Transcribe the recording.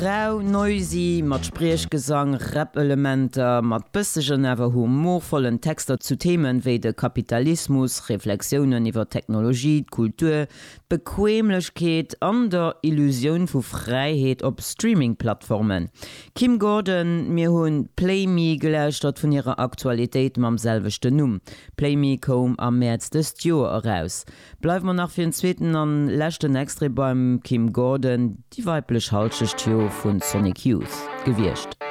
Rau, noisy, mat Spriechgesang, Rap-Elementer, mat bëssegen awer humorvollen Texter zu Themen wéi de Kapitalismus, Reflexiounen iwwer d'Technologie, d'Kultur, d'Bequemlechkeet an der Illusioun vu Fräiheet op Streaming-Plattformen. Kim Gordon, Mir hu Play Me gelauschtert vun hirer Aktualitéit mam selwechten Numm. Play Me koum am Mäerz dëst Joer eraus. Bleiwe mer nach fir en zweeten an leschten Extrait beim Kim Gordon, déi weiblech Halschecht jo vun Sonic Youth gewiescht.